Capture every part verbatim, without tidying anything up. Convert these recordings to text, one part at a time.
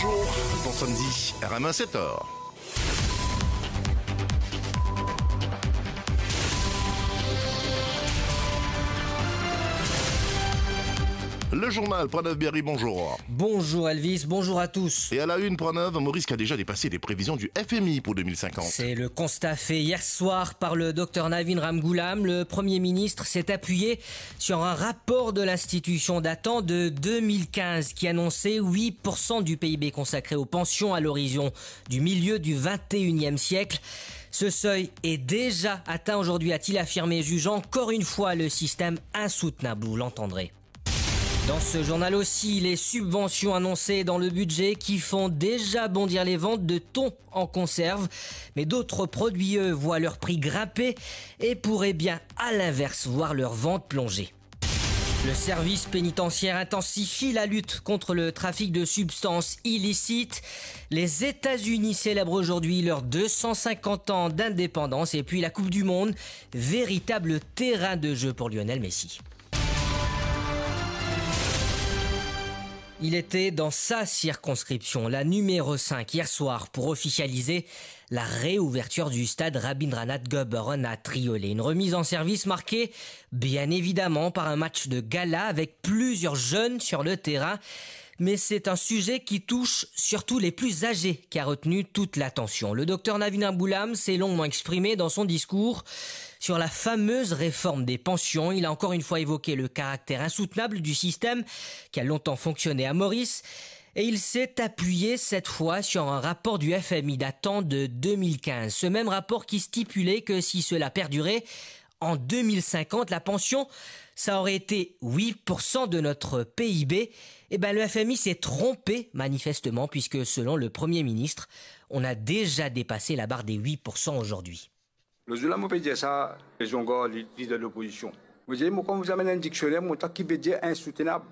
Bon samedi, R M un sept heures. Le journal, Pranov Biari, bonjour. Bonjour Elvis, bonjour à tous. Et à la une, Pranov, un Maurice qui a déjà dépassé les prévisions du F M I pour deux mille cinquante. C'est le constat fait hier soir par le docteur Navin Ramgoolam. Le Premier ministre s'est appuyé sur un rapport de l'institution datant de deux mille quinze qui annonçait huit pour cent du P I B consacré aux pensions à l'horizon du milieu du vingt et unième siècle. Ce seuil est déjà atteint aujourd'hui, a-t-il affirmé, jugeant encore une fois le système insoutenable. Vous l'entendrez. Dans ce journal aussi, les subventions annoncées dans le budget qui font déjà bondir les ventes de thon en conserve. Mais d'autres produits, eux, voient leur prix grimper et pourraient bien, à l'inverse, voir leur vente plonger. Le service pénitentiaire intensifie la lutte contre le trafic de substances illicites. Les États-Unis célèbrent aujourd'hui leurs deux cent cinquante ans d'indépendance et puis la Coupe du Monde, véritable terrain de jeu pour Lionel Messi. Il était dans sa circonscription, la numéro cinq, hier soir pour officialiser la réouverture du stade Rabindranath Goboron à Triolet. Une remise en service marquée, bien évidemment, par un match de gala avec plusieurs jeunes sur le terrain. Mais c'est un sujet qui touche surtout les plus âgés qui a retenu toute l'attention. Le docteur Navin Ramgoolam s'est longuement exprimé dans son discours sur la fameuse réforme des pensions. Il a encore une fois évoqué le caractère insoutenable du système qui a longtemps fonctionné à Maurice. Et il s'est appuyé cette fois sur un rapport du F M I datant de deux mille quinze. Ce même rapport qui stipulait que si cela perdurait, en deux mille cinquante, la pension, ça aurait été huit pour cent de notre P I B. Eh ben, le F M I s'est trompé manifestement, puisque selon le Premier ministre, on a déjà dépassé la barre des huit pour cent aujourd'hui. Lot zour la, mo pe dir sa, Zongar, li, lider lopozision. Mo dir, mo, kan mo amenn enn diksioner, mo tann ki pe dir insoutenab.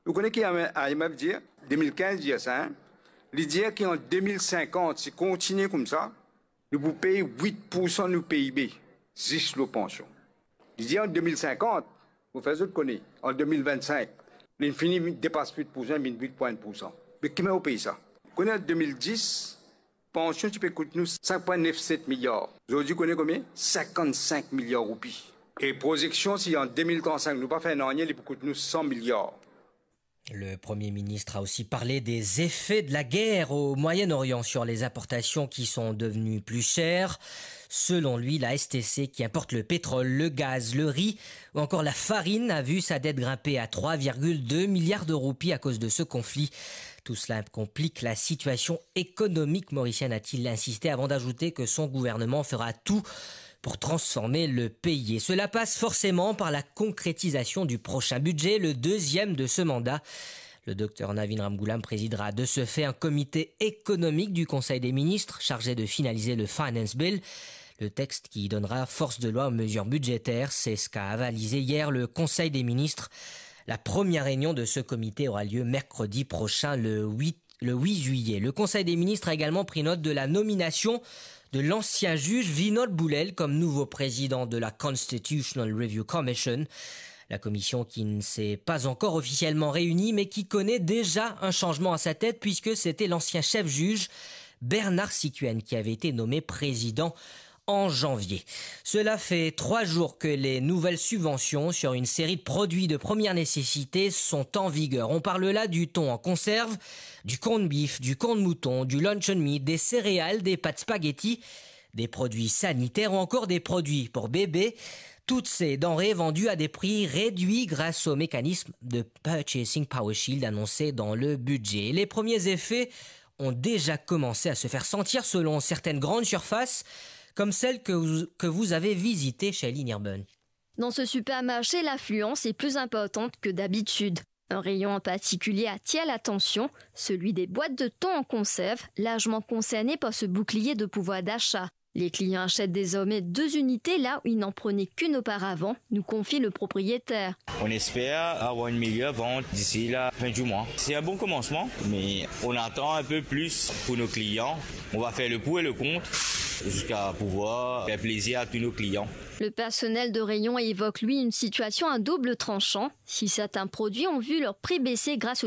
Ou kone ki I M F dir? Deux mille quinze dir sa, hein? Li dir ki an deux mille cinquante, si kontinie koumsa, nou pou pey huit pour cent nou P I B, zis lor pansion. Li dir an deux mille cinquante, mo fer zot kone, an deux mille vingt-cinq, li fini depas huit pour cent, vinn huit point un pour cent. Me ki manier ou pey sa? Kone an deux mille dix, pansion ti pe kout nou cinq point neuf sept milliards. Zordi, kone konbien? Cinquante-cinq milliards roupi. E prozeksion, si an deux mille trente-cinq nou pa fer nanye, li pou kout nou cent milliards. Le Premier ministre a aussi parlé des effets de la guerre au Moyen-Orient sur les importations qui sont devenues plus chères. Selon lui, la S T C qui importe le pétrole, le gaz, le riz ou encore la farine a vu sa dette grimper à trois virgule deux milliards de roupies à cause de ce conflit. Tout cela complique la situation économique mauricienne, a-t-il insisté, avant d'ajouter que son gouvernement fera tout pour transformer le pays. Et cela passe forcément par la concrétisation du prochain budget, le deuxième de ce mandat. Le docteur Navin Ramgoolam présidera de ce fait un comité économique du Conseil des ministres chargé de finaliser le Finance Bill, le texte qui donnera force de loi aux mesures budgétaires. C'est ce qu'a avalisé hier le Conseil des ministres. La première réunion de ce comité aura lieu mercredi prochain, le huit le huit juillet. Le Conseil des ministres a également pris note de la nomination de l'ancien juge Vinod Boulel comme nouveau président de la Constitutional Review Commission. La commission qui ne s'est pas encore officiellement réunie, mais qui connaît déjà un changement à sa tête, puisque c'était l'ancien chef juge Bernard Sikuene qui avait été nommé président en janvier. Cela fait trois jours que les nouvelles subventions sur une série de produits de première nécessité sont en vigueur. On parle là du thon en conserve, du corned beef, du corn mouton, du luncheon meat, des céréales, des pâtes spaghetti, des produits sanitaires ou encore des produits pour bébés. Toutes ces denrées vendues à des prix réduits grâce au mécanisme de Purchasing Power Shield annoncé dans le budget. Les premiers effets ont déjà commencé à se faire sentir selon certaines grandes surfaces, comme celle que vous, que vous avez visitée, Shailene Urban. Dans ce supermarché, l'affluence est plus importante que d'habitude. Un rayon en particulier attire l'attention, celui des boîtes de thon en conserve, largement concernées par ce bouclier de pouvoir d'achat. Les clients achètent désormais deux unités là où ils n'en prenaient qu'une auparavant, nous confie le propriétaire. On espère avoir une meilleure vente d'ici la fin du mois. C'est un bon commencement, mais on attend un peu plus pour nos clients. On va faire le pour et le contre jusqu'à pouvoir faire plaisir à tous nos clients. Le personnel de rayon évoque, lui, une situation à double tranchant. Si certains produits ont vu leur prix baisser grâce au